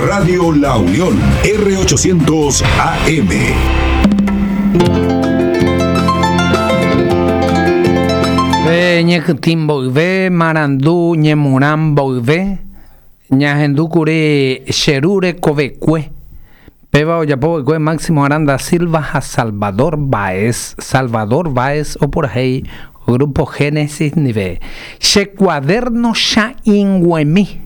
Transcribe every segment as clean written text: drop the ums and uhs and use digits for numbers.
Radio La Unión, R800 AM. Pe ñekytĩ mboyve, marandu ñemurã mboyve, ñahendúkuri che ru rekovekue. Péva ojapo va'ekue Máximo Aranda Silva ha Salvador Báez. Salvador Báez opurahéi Grupo Génesis ndive. Che cuaderno cha'ĩnguemi.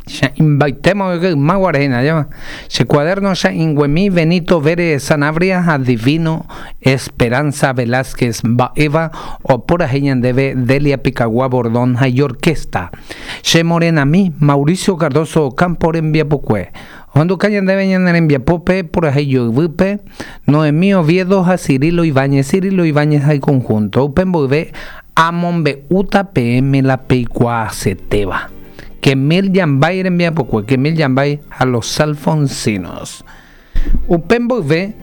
Cha'ĩmbaitéma oike yma guare hína, ajépa. Che cuaderno cha'ĩnguemi Benito Vérez Sanabria ha Divino Esperanza Velázquez mba'éva opurahéi ñandéve Delia Picagua Bordón ha iorquesta. Che morenami Mauricio Cardozo Ocampo rembiapokue. Ohenduka ñandéve ñane rembiapópe purahéi joyvýpe, Noemí Oviedo ha Cirilo Ibáñez, Cirilo Ibáñez ha iconjunto. Upe mboyve amombe'úta peẽme la peikuaasetéva. Kemil Yambay rembiapokue, Kemil Yambay ha Los Alfonsinos. Upe mboyve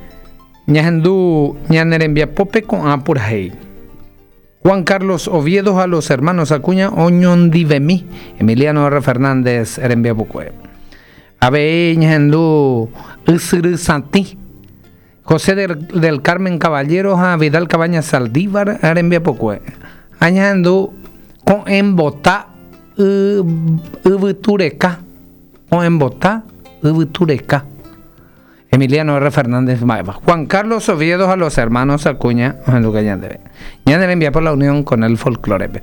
ñahendu ñane rembiapópe ko'ã purahéi. Juan Carlos Oviedo ha Los Hermanos Acuña oñondivemi, Emiliano R. Fernández rembiapokue. Avei ñahendu Ysyry Satĩ, José del Carmen Caballero ha Vidal Cabañas Saldívar rembiapokue. Ha ñahendu Ko'ẽmbota Yvytureka, Ko'ẽmbota Yvytureka. Emiliano R. Fernández mba'épa. Juan Carlos Oviedo ha los hermanos Acuña ohenduka ñandéve. Ñane rembiapo la unión con el folclore-pe.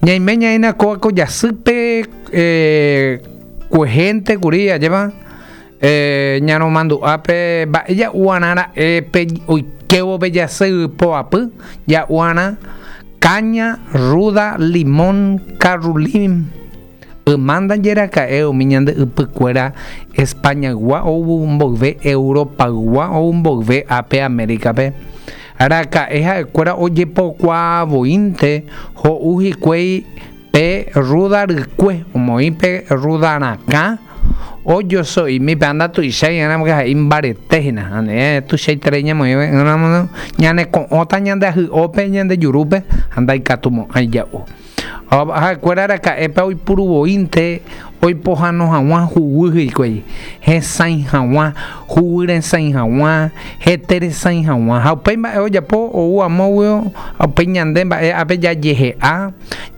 Ñaime ñaína kóva ko jasýpe eh, kuehénte kuri ajépa eh, ñaromandu'ápe mba'e ja'uarã ra'e pe oikévo pe jasy poapy ja'uarã caña, ruda, limón, carrulim. Yma ndaje raka'e umi ñande ypykuéra Españaygua ou mboyve Europaygua ou mboyve ápe Américape. Raka'e ha'ekuéra ojepokuaavoínte ho'u hikuái pe rrúda rykue, omoĩ pe rrúda rakã ojoso'imi pe anda tuichái ỹramo ha'e imbarete hína. Ane tuichaiterei ñamoĩve ỹramo ñane ko'õta ñande ahy'ópe ñande jurúpe ha ndaikatumo'ãi ja'u. Ha'ekuéra araka'épa oipuru voínte oipohano hag̃ua huguy hikuái, hesãi hag̃ua, huguy resãi hag̃ua, hete resãi hag̃ua. Ha upéi mba'e ojapo ou amóguio, ha upéi ñande mba'e ápe jajehe'a,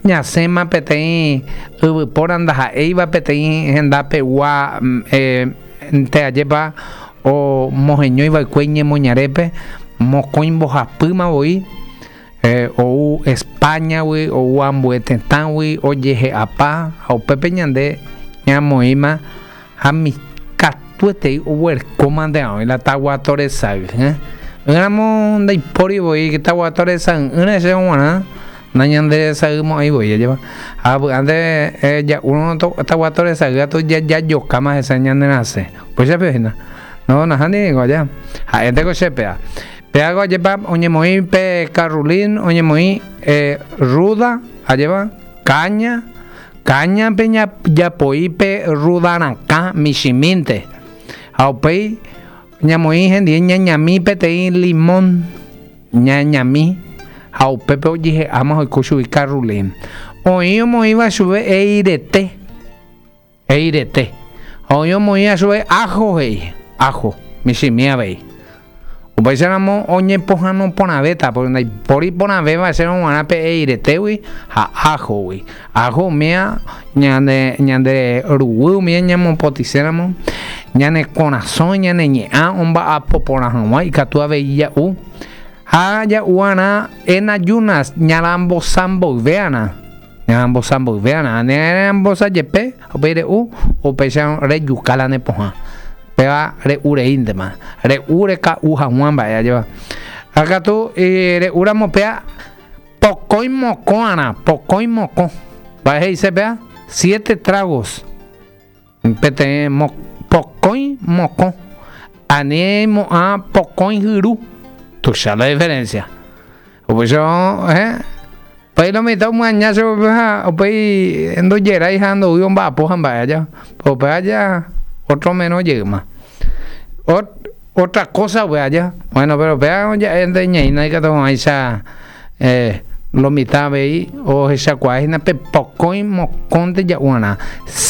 ñasẽma peteĩ yvypóra ndaha'éiva peteĩ hendapegua nte ajépa omoheñói va'ekue iñemoñarépe, mokõi mbohapýma voi. Ou Espáñagui, ou ambue tetãgui ojehe'apa ha upépe ñande ñamoĩma ha katuetei oguerekóma nde oĩ la taguato resay. Ỹramo ndaipóri voi taguato resay'ỹre che g̃uarã nañanderesaymo'ãi voi ajépa. Ha vy'ánte ja'úrõ taguato resay katu jajokáma hese ñanerasẽ. Upéicha pe hína. No, nahániri niko aja. Ha'énteko che péva. Pe água ajépa oñemoĩ pe karrulín, oñemoĩ rrúda, ajépa, káña, káñape japoi pe rrúda rakã michĩmínte. Ha upéi ñamoĩ hendie ñañami peteĩ limón, ñañami, ha upépe ojehe'áma oiko chugui karrulín. Oĩ omoĩva chupe eirete. Eirete. Ha oĩ omoĩva chupe áho he'i, áho, michĩmi avei. Upéicharamo oñepohãno porãvéta, pórke ndaipóri porãvéva chéve g̃uarã pe eiretégui ha áhogui. Áho umíva ñande, ñande ruguy umíva ñamopotĩséramo, ñane korasõ, ñane ñe'ã omba'apo porã hag̃ua ikatu avei ja'u. Ha ja'u'arã en ayunas ñarambosa mboyve'arã. Ñarambosa mboyve'arã, ne rambosa jepe, upéi re'u, upéicha rejuka la ne pohã. Péva re'u reíntema, re'u reka'u haguã mba'e ajépa. Ha katu re'úramo péa pokõi mokõ'arã, pokõi mokõ. Mba'e he'ise péa? Siete tragos. Peteĩ pokõi mokõ. Ani mo'ã pokõi hyru. Tuicha la diferencia. Upéicha, eh, upéi lo mitã omyaña chupe ha upéi ndojerái ha ndoúi omba'apo ha mba'e aja. Upe aja otro menos jeýma. Otra cosa upe aja. Bueno, pero upéva ja'énte ñaína ikatu hag̃uáicha eh, lo mitã avei ohechakuaa hína pe pokõi mokõnte ja'uarã.